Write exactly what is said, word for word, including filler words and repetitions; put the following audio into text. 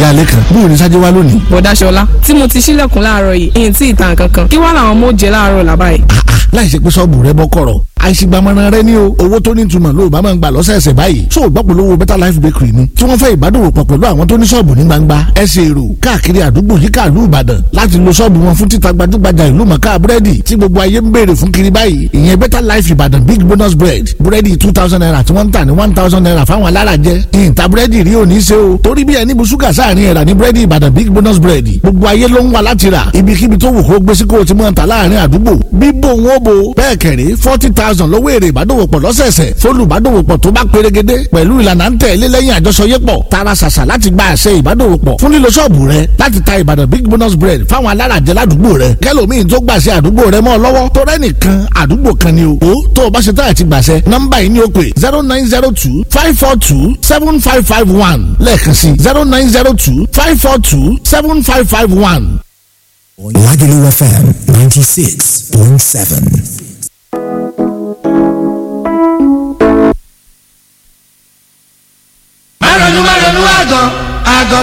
Ìyá alẹ́ kan bóun ní sáájú wá lónìí. Bọ̀dá Ṣọlá, tí mo ti ṣílẹ̀kùn láàárọ̀ yìí, ìyìn tí ìtàn kankan. Kí wá làwọn ọmọ ó jẹ láàárọ̀ làbá yìí? Láì ṣe pé sọ́ọ̀bù rẹ bọ́ kọ̀rọ̀, àìsígbàmọ́ra rẹ ní o. Owó tó ní ìtumọ̀ ló bá máa ń gbà lọ́sẹ̀ẹ̀sẹ̀ báyìí. Tó o gbọ́ polówó Better Life Bakery ni tí wọ́n fẹ́ ìbádòwòpọ̀ pẹ̀lú àwọn tó ní sọ́ọ̀bù ní gbangba ẹsẹ̀ èrò káàkiri àdúgbò yíká ìlú Ìbàdàn láti lo sọ́ọ̀bù wọn fún títa gbajúgbajà ìlú mọ̀ká búrẹ́dì tí gbogbo ayé ń béèrè fún kiri báyìí, ìyẹn Better Life Ìbàdàn Big Bonus Bread. Búrẹ́dì two thousand naira tí wọ́n ń tà ní one thousand naira fáwọn alárajẹ. Ìyìntà búrẹ́dì rí òní ṣe o, torí bí ẹni bu ṣúgà sáàrin ẹ̀rà ní búrẹ́dì Ìbàdàn Big Bonus Bread. Gbogbo ayé ló ń wá láti rà. Ibikíbi tó wù kó gbé sí kó o ti mọ̀ ta láàrin àdúgbò bíbò wọn bo. Bẹ́ẹ̀ kẹ̀rí, forty thousand lọ́wọ́ èrè ìbádòwòpọ̀ lọ́sẹ̀ẹ̀sẹ̀ fólùbádòwòpọ̀ tó bá perégedé pẹ̀lú ìlànà ń tẹ̀lé lẹ́yìn àjọṣọyépọ̀. Tara ṣàṣà láti gba àṣẹ ìbádòwòpọ̀ fún lílo ṣọ́ọ̀bù rẹ láti ta Ìbàdàn Big Bonus Bread fáwọn alárajẹ ládùúgbò rẹ, kẹlòmíín tó gbàṣẹ àdúgbò rẹ mọ́ ọ lọ́wọ́, tó rẹ́nìkan àdúgbò kan ni o. Ó tó o bá ṣe táyà ti gbàṣẹ, nọ́mbà yìí ni ó pè: zero nine zero two five four two seven five five one. Lẹ́ẹ̀kan sí, zero nine zero two five four two seven five five one. Lagelu F M ninety-six point seven. Má ronú, má ronú, àgàn àgàn.